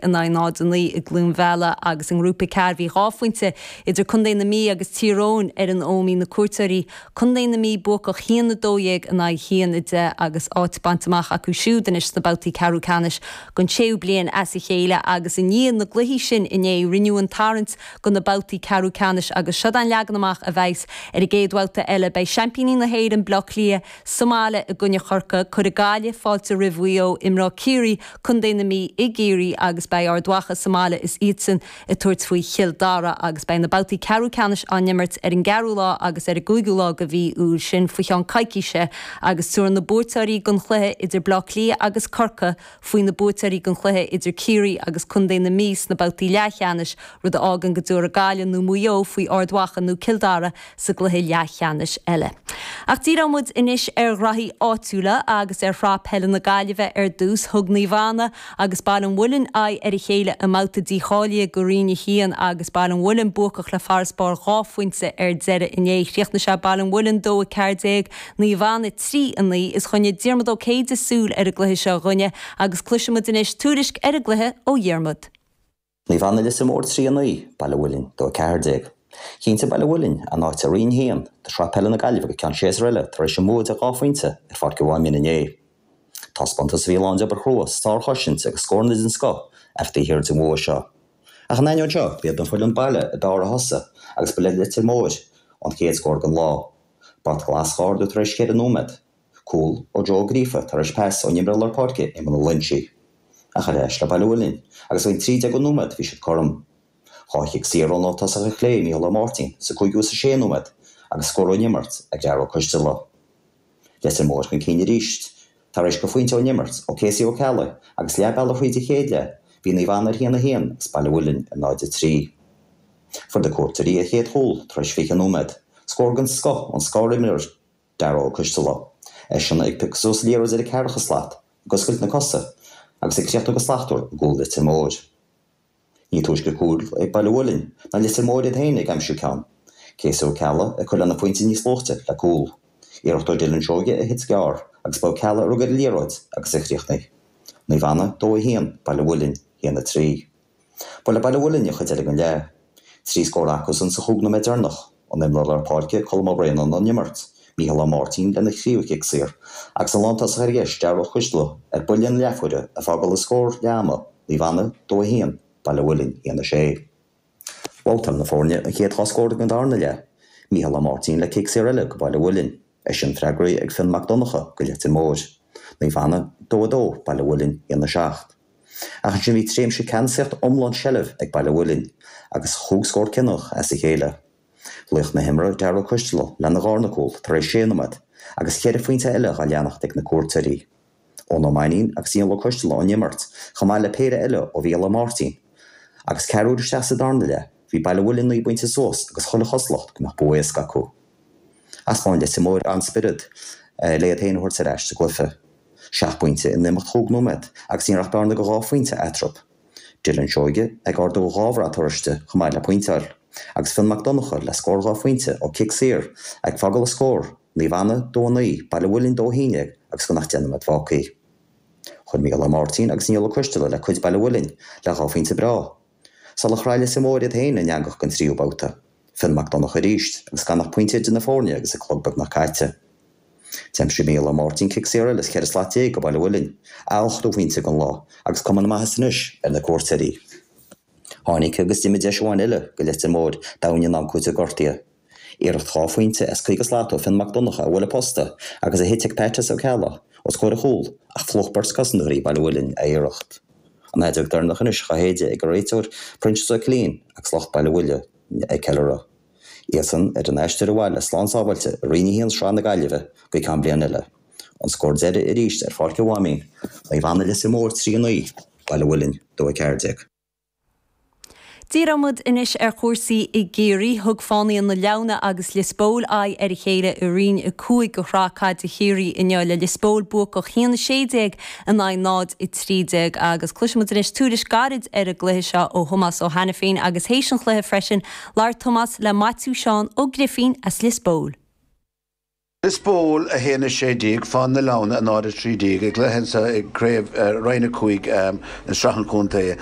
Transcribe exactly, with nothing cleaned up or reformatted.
in aghaidh náid a naoi i gCluain Mheala agus i nGrúpa ceathair bhí dhá phointe idir Contae na Mí agus Tír Eoghain ar an Ómaigh na cuairteoirí Contae na Mí buacach haon a dó dhéag in aghaidh haon a deich agus áit bainte amach acu siúd anois sna babhtaí ceathrú ceannais don séú bliain as a chéile agus i ndiaidh na gcluichí sin inné rinneadh an tarraingt do na babhtaí ceathrú ceannais agus seo an leagan amach a bheas ar an gcéad bhabhta eile beidh seaimpíní na hÉireann Bleá Cliath sa mbaile i gcoinne Chorcaí cuirfidh Gaillimh fáilte roimh Mhaigh Eo imreoidh Ciarraí Contae na Mí i gCiarraí agus beidh Ard Mhacha sa mbaile is iadsan ag tabhairt faoi Chill Dara agus beidh na babhtaí ceathrú ceannais á n-imirt ar an gceathrú lá agus ar an gcúigiú lá de mhí Iúil sin faoi cheann coicíse agus tabharfaidh na buaiteoirí den chluiche idir Bleá Cliath agus Corcaigh faoi na buaiteoirí den chluiche idir Ciarraí agus Contae na Mí sna babhtaí leathcheannais rud a fhágann go dtabharfaidh Gaillimh nó Maigh Eo faoi Ard Mhacha nó Cill Dara sa gcluiche leathcheannais eile. Ach díreoidh muid anois ar ghraithí áitiúla agus ar Shraith Peile na Gaillimhe ar dtús thug Naomh Anna agus Baile an Mhuilinn aghaidh ar a chéile i mbabhta dícháilithe do Roinn a haon agus Baile an Mhuilinn buacach le farasbarr dhá phointe ar deireadh inné chríochnaigh sé Baile an Mhuilinn dó a ceathair déag Naomh Anna trí a naoi is choinnigh Diarmuid Ó Céide súil ar an gcluiche seo dhuine agus cloisfimid anois tuairisc ar an gcluiche ó Dhiarmuid. Naomh Anna Leitir Móir trí a naoi, Baile an Mhuilinn dó a ceathair déag. Chinntigh Baile an Mhuilinn a n-áit i Roinn a haon de Shraith Peile na Gaillimhe go ceann séasúr eile tar éis a mbua de dhá phointe ar Pháirc an Mháimín inné. Taispeántas a bhí lán d'obair chrua, sárchosaint agus scóranna den scoth a bhí taobh thiar den bhua seo. Ach in ainneoin seo, b'iad an foireann baile ab fhearr a thosaigh agus ba le Leitir Móir an chéad scór den lá. Brat glas á ardú tar éis ceithre nóiméad. Cúl ó Joe Ó Gríofa tar éis pas ón imreoir lár páirce Éamonn Ó Loinsigh. Ach ar ais le Baile an Mhuilinn agus faoin trí déag nóiméad bhí siad cothrom. Dhá chic saor ón tosach ar chlé Mícheál Ó Máirtín sa cúigiú is a sé nóiméad agus scór ón imirt ag Darragh Ó Coisteala. Leitir Móir chun cinn arís tar éis do phointe ón imirt ó Casey Ó Ceallaigh agus leath bealaigh thríd an chéad leath bhí Naomh Anna ar haon a haon agus Baile an Mhuilinn ar náid a trí. Fuair na cuairteoirí a chéad chúl tar éis fiche nóiméad, scór den scoth ón scorimreoir Darragh Ó Coisteala. Eisean ag piocadh suas liathróid ar an ceathracha slat, ag oscailt na cosa agus ag críochnú go slachtmhar i gcúl Leitir Móir. Ní túisce cúl ag Baile an Mhuilinn ná Leitir Móir iad féin ag aimsiú ceann. Casey Ó Ceallaigh ag cur lena phointe níos luaithe le cúl. Iarracht ó Dylan Seoige a thit gearr agus ba Ó Ceallaigh a rug ar an liathróid agus a chríochnaigh. Naomh Anna dó a haon, Baile an Mhuilinn haon a trí. Ba le Baile an Mhuilinn an chuid eile den leath. Trí scór acusan sa chúig nóiméad deireanach, ón imreoir lár páirce Colm Ó Braonáin ón imirt, Mícheál Ó Máirtín lena thríú cic saor, agus an lántosach ar dheis Darragh Ó Coisteala ar buille ina leathuaire ag fágáil an scór leath ama, Naomh Anna dó a haon, Baile an Mhuilinn haon a sé. Bhabhtáil na foirne an chéad dhá scór den darna leath, Mícheál Ó Máirtín le cic saor eile go Baile an Mhuilinn, eisean freagraithe ag Fionn Mac Donncha go Leitir Móir. Naomh Anna dó a dó, Baile an Mhuilinn haon a seacht. Ach ansin bhí tréimhse ceannasaíocht iomlán seilbh ag Baile an Mhuilinn agus chúig scór cinniúnach as a chéile. Laoch na himeartha Darragh Ó Coisteala lena dharna cúl tar éis sé nóiméad agus ceithre phointe eile dhá leanacht ag na cuairteoirí. Eoin Ó Mainnín agus Ian Ó Coisteala ón imirt, chomh maith le péire eile ó Mhícheál Ó Máirtín. Agus ceathrú isteach sa darna leath, bhí Baile an Mhuilinn naoi bpointe suas agus chuile chosúlacht go mbeadh bua éasca acu. Thaispeáin Leitir Móir an-spiorad le iad féin a thabhairt ar ais sa gcluiche. Seacht bpointe in imeacht chúig nóiméad agus ní raibh ach bearna de dhá phointe eatarthu. Dylan Seoige ag ardú dhá bhrat oráiste chomh maith le pointeáil, agus Fionn Mac Donncha le scór dhá phointe ó chic saor ag fágáil an scór, Naomh Anna dó a naoi, Baile an Mhuilinn dó a haon déag agus gan ach deich nóiméad fágtha. Chuir Mícheál Ó Máirtín agus Niall Ó Coisteala le cuid Baile an Mhuilinn le dhá phointe breá. Sular chraith Leitir Móir iad féin in eangach don tríú babhta. Fionn Mac Donncha arís agus gan ach pointe idir na foirne agus an clog beagnach caite. D'aimsigh Mícheál Ó Máirtín cic saor eile as ceithre slat déag go Baile an Mhuilinn, a ochtú pointe den lá agus cuma na maitheasa anois ar na cuairteoirí. Tháinig agus d'imigh deis amháin eile go Leitir Móir domhain in am cúitimh gortaithe. Iarracht dhá phointe as caoga slat ó Fionn Mac Donncha a bhuail an posta agus a thit ag Pat S. Ó Ceallaigh os comhair a chúl ach phlúch beirt cosantóirí Baile an Mhuilinn a iarracht. An fheadóg deireanach anois dhá shéideadh ag an réiteoir Proinsias Ó Cillín agus lucht Baile an Mhuilinn ag ceiliúradh. Iadsan ar an aistear abhaile slán sábháilte i Roinn a haon Sraith na Gaillimhe go ceann bliain eile. An scór deiridh arís ar Pháirc an Mháimín, Naomh Anna Leitir Móir trí a naoi, Baile an Mhuilinn dó a ceathair déag. Díreoidh muid anois ar chúrsaí i gCiarraí. Thug Fánaithe na Leamhna agus Lios Póil aghaidh ar a chéile i Roinn a cúig de Shraith Caide Chiarraí inniu le Lios Póil buacach haon a sé déag in aghaidh náid a trí déag agus cloisfimid anois tuairisc gairid ar an gcluiche seo ó Thomás Ó hAiniféin agus théis an chluiche freisin labhair Tomás le Maitiú Seán Ó Grifín as Lios Póil. Lios Póil a haon a sé déag, Fán na Leanna a náid a trí déag, i gcluiche i gcraobh Roinn a cúig i Sraith an Chontae.